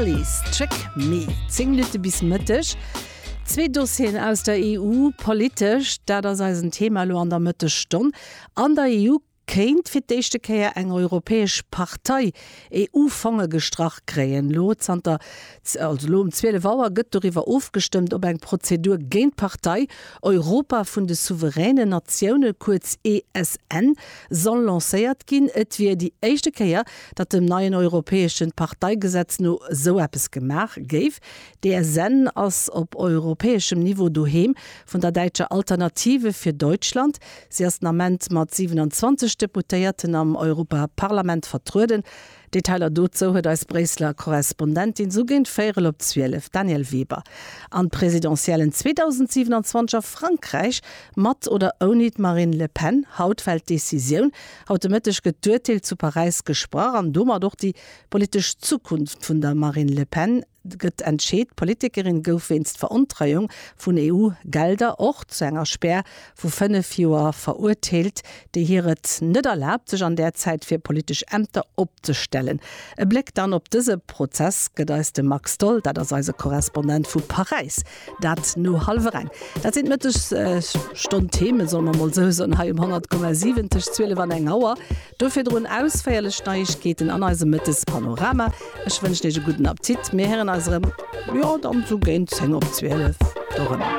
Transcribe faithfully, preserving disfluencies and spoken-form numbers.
Kelis, Trick Me. Zéng Minutte bis Mëtteg. Zwee Dossieren aus der E U, politesch, dat ass eisen Thema elo an der Mëttesstonn. An der E U kéint fir d'éischte Kéier eng europäesch Partei E U-Fonge gestrach kréien. Lo zanter, also lo um zwielef Auer gëtt doriwwer ofgestëmmt, ob eng Prozedur géint d'Partei Europa vun de souveränen Natioune, kuerz E S N, soll lancéiert ginn. Et wier déi éischte Kéier, datt dem neien europäesche Parteigesetz no esou eppes gemaach géif. D'E S N ass op europäeschem Niveau doheem vun der däitscher Alternative fir Deutschland. Si ass den Ament mat siewenundzwanzeg Deputéierten am Europaparlament vertrueden. Detailer dozou huet eis Bréisseler Korrespondentin sou géint véierel op zwielef, Danièle Weber. An d'Presidentiellen zweedausendsiewenundzwanzeg a Frankräich, mat oder ouni d'Marine Le Pen, haut fält d'Decisioun. Haut de Mëtteg gëtt d'Urteel zu Paräis gesprach an domat och déi politesch Zukunft vun der Marine Le Pen gëtt entscheet. D'Politikerin gouf wéinst Verontreiung vun E U-Gelder och zu enger Spär vu fënnef Joer verurteelt, déi hir et net erlaabt, sech an där Zäit fir politesch Ämter opzestellen. E Bléck dann op dëse Prozess gëtt eis de Max Tholl, dat ass eise Korrespondent vu Paräis. Dat no hallwer eng. Dat sinn d'Mëttesstonn-Themen, solle mer mol sou soen, hei um honnert Komma siwen tëscht zwielef an eng Auer. Do virdrun ausféierlech Neiegkeeten an eisem Mëttespanorama. Ech wënschen Iech e gudden Appetit. Mir héieren eis erëm, jo, dann sou géint zéng op zwielef dorëmmer.